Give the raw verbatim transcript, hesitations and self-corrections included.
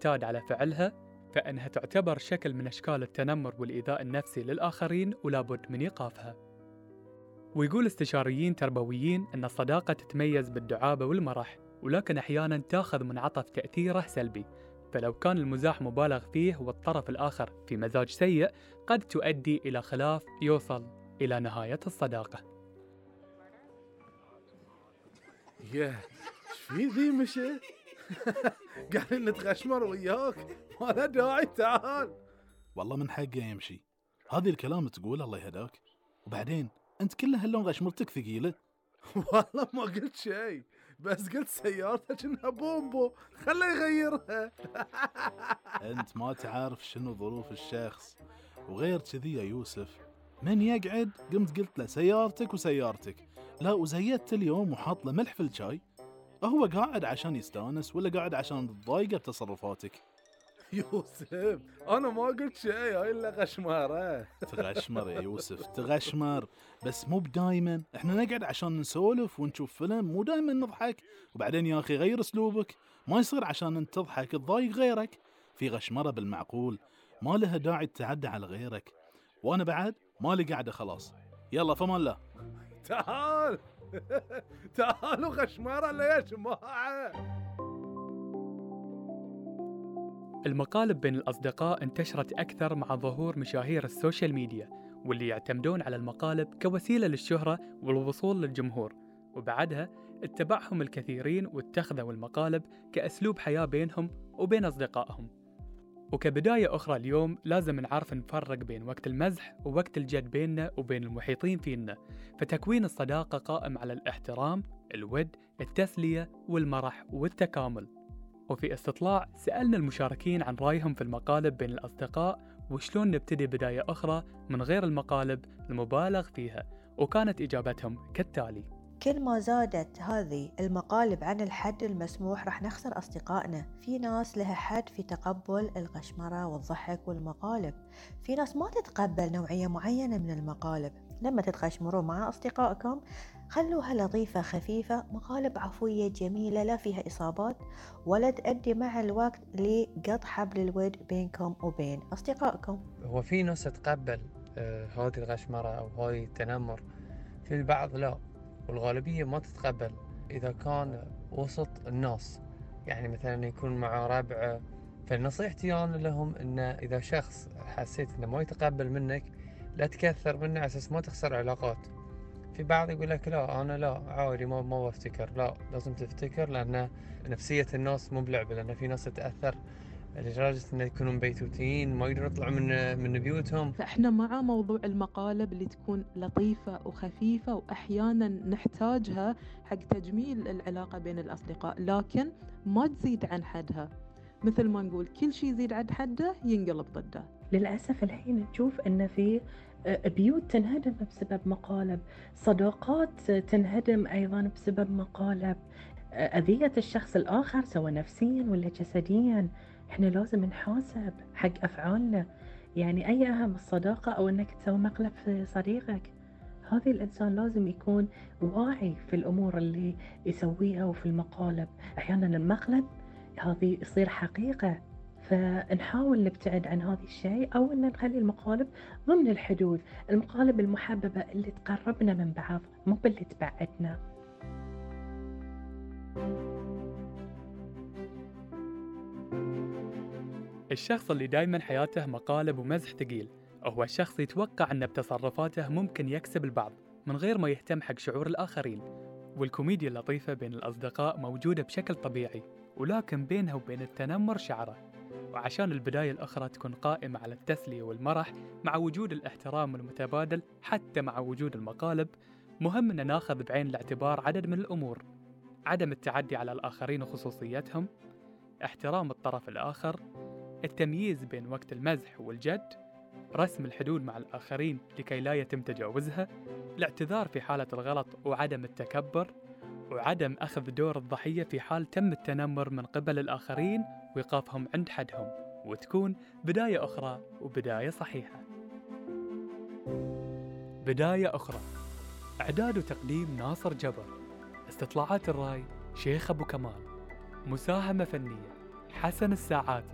تعتاد على فعلها، فإنها تعتبر شكل من أشكال التنمر والإيذاء النفسي للآخرين ولا بد من إيقافها. ويقول استشاريين تربويين أن الصداقة تتميز بالدعابة والمرح، ولكن أحياناً تأخذ منعطف تأثيره سلبي، فلو كان المزاح مبالغ فيه والطرف الآخر في مزاج سيء قد تؤدي إلى خلاف يوصل إلى نهاية الصداقة. ياه، شفي ذي مشي؟ قاعدين نتغشمر وياك، ما له داعي، تعال. والله من حقه يمشي، هذه الكلام تقول الله يهداك. وبعدين أنت كل هاللون غشمرتك ثقيلة. والله ما قلت شيء، بس قلت سيارتك إنها بومبو، خله يغيرها. أنت ما تعرف شنو ظروف الشخص. وغير كذي يا يوسف، من يقعد قمت قلت له سيارتك وسيارتك، لا وزيدت اليوم وحاط له ملح في الشاي. هو قاعد عشان يستانس ولا قاعد عشان تضايقه بتصرفاتك؟ يوسف أنا ما قلت شيء، هاي إلا غشمارة. تغشمر يا يوسف، تغشمر، بس مو بدايما. احنا نقعد عشان نسولف ونشوف فيلم، مو دايما نضحك. وبعدين يا أخي غير أسلوبك، ما يصير عشان انت تضحك تضايق غيرك. في غشمرة بالمعقول، ما لها داعي تتعدى على غيرك. وأنا بعد ما لي قاعدة خلاص، يلا فمان الله. تعال تعالوا غشمارة ليش معه. المقالب بين الأصدقاء انتشرت أكثر مع ظهور مشاهير السوشيال ميديا، واللي يعتمدون على المقالب كوسيلة للشهرة والوصول للجمهور، وبعدها اتبعهم الكثيرين واتخذوا المقالب كأسلوب حياة بينهم وبين أصدقائهم. وكبداية أخرى اليوم لازم نعرف نفرق بين وقت المزح ووقت الجد بيننا وبين المحيطين فينا، فتكوين الصداقة قائم على الاحترام، الود، التسلية والمرح والتكامل. وفي استطلاع سألنا المشاركين عن رأيهم في المقالب بين الأصدقاء وشلون نبتدي بداية أخرى من غير المقالب المبالغ فيها، وكانت إجابتهم كالتالي: كل ما زادت هذه المقالب عن الحد المسموح راح نخسر أصدقائنا. في ناس لها حد في تقبل الغشمرة والضحك والمقالب، في ناس ما تتقبل نوعية معينة من المقالب. لما تتغشمروا مع أصدقائكم خلوها لطيفة خفيفة، مقالب عفوية جميلة لا فيها إصابات ولا تؤدي مع الوقت لقطع حبل الود بينكم وبين أصدقائكم. هو في ناس تتقبل آه هذه الغشمرة أو هذه التنمر، في البعض لا، والغالبية ما تتقبل إذا كان وسط الناس. يعني مثلا يكون مع ربع، فنصيحتي أنا لهم إن إذا شخص حسيت إنه ما يتقبل منك لا تكثر منه على أساس ما تخسر علاقات. في بعض يقول لك لا أنا لا عادي ما ما بفتكر، لا لازم تفتكر، لأن نفسية الناس مو بلعبة، لأن في ناس تتأثر لدرجة إنه يكونوا مبيتوتين ما يقدروا يطلعوا من من بيوتهم. فإحنا مع موضوع المقالب اللي تكون لطيفة وخفيفة وأحيانا نحتاجها حق تجميل العلاقة بين الأصدقاء، لكن ما تزيد عن حدها. مثل ما نقول كل شيء يزيد عن حده ينقلب ضده. للأسف الحين نشوف أن في بيوت تنهدم بسبب مقالب، صداقات تنهدم أيضا بسبب مقالب، أذية الشخص الآخر سواء نفسيا ولا جسديا. إحنا لازم نحاسب حق أفعالنا. يعني أي أهم الصداقة أو أنك تسوي مقلب في صديقك؟ هذا الإنسان لازم يكون واعي في الأمور اللي يسويها. وفي المقالب أحيانا المقلب هذه يصير حقيقة، فنحاول نبتعد عن هذا الشيء أو أن نخلي المقالب ضمن الحدود، المقالب المحببة اللي تقربنا من بعض مو باللي تبعدنا. الشخص اللي دايما حياته مقالب ومزح ثقيل هو الشخص يتوقع أن بتصرفاته ممكن يكسب البعض من غير ما يهتم حق شعور الآخرين. والكوميديا اللطيفة بين الأصدقاء موجودة بشكل طبيعي، ولكن بينها وبين التنمر شعرة. وعشان البداية الأخرى تكون قائمة على التسلية والمرح مع وجود الاحترام المتبادل حتى مع وجود المقالب، مهم أن ناخذ بعين الاعتبار عدد من الأمور: عدم التعدي على الآخرين وخصوصيتهم، احترام الطرف الآخر، التمييز بين وقت المزح والجد، رسم الحدود مع الآخرين لكي لا يتم تجاوزها، الاعتذار في حالة الغلط وعدم التكبر، وعدم أخذ دور الضحية في حال تم التنمر من قبل الآخرين وإيقافهم عند حدهم، وتكون بداية أخرى وبداية صحيحة. بداية أخرى، إعداد وتقديم ناصر جبر، استطلاعات الرأي شيخ أبو كمال، مساهمة فنية حسن الساعاتي،